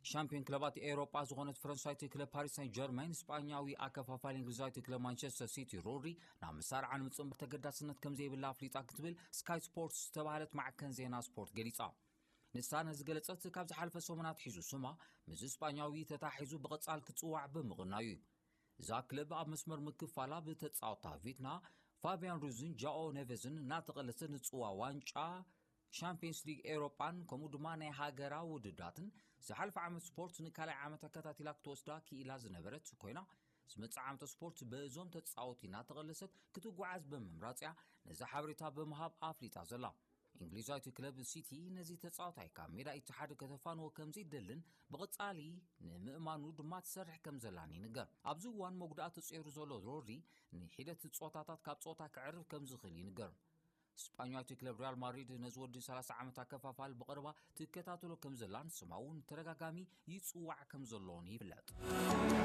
ሻምፒዮን ክለባት ኤውሮጳ ዝኾነት ፈረንሳይቲ ክለብ ፓሪስ ሳን ጀርመን፣ ስጳኛዊ ኣከፋፋሊ እንግሊዛዊት ክለብ ማንቸስተር ሲቲ ሮድሪ ናብ መሳርዓ ንምጽንባር ተገዳስነት ከም ዘይብላ ኣፍሊጣ ክትብል ስካይ ስፖርትስ ዝተባህለት ማዕከን ዜና ስፖርት ገሊጻ። ንሳ ነዚ ገለጸት ካብ ዝሓለፈ ሰሙናት ሒዙ ስማ ምስ ስጳኛዊ ተታሒዙ ብቐጻል ክጽዋዕ ብምቕናዩ እዩ። እዛ ክለብ ኣብ መስመር ምክፋላ ብተጻወታ ቪትና ፋቢያን ሩዝን ጃኦ ኔቬዝን እናተቐለሰት ንጽዋ ዋንጫ ሻምፒየንስ ሊግ ኤውሮጳን ከምኡ ድማ ናይ ሃገራ ውድዳትን ዝሓለፈ ዓመት ስፖርት ንካልኣይ ዓመት ኣከታቲላ ክትወስዳ ክኢላ ዝነበረት ኮይና፣ ዝመጽእ ዓመት ስፖርት በዞም ተጻወቲ እናተቐለሰት ክትጓዓዝ ብምምራጽ እያ ነዚ ሓበሬታ ብምሃብ ኣፍሊጣ ዘላ። እንግሊዛዊት ክለብ ሲቲ ነዚ ተጻዋታይ ካብ ሜዳ ኢትሓድ ከተፋንዎ ከም ዘይደልን ብቐጻሊ ንምእማኑ ድማ ትሰርሕ ከም ዘላን ይንገር። ኣብዚ እዋን መጉዳእቲ ተጸይሩ ዘሎ ሮድሪ ንሒደት ጾታታት ካብ ጾታ ክዕርፍ ከም ዝኽእል ይንገር። ስጳኛዊት ክለብ ሪያል ማድሪድ ነዚ ወዲ ሰላሳ ዓመት ኣከፋፋል ብቐረባ ትከታተሎ ከም ዘላን ስማ እውን ተደጋጋሚ ይጽዋዕ ከም ዘሎን ይፍለጥ።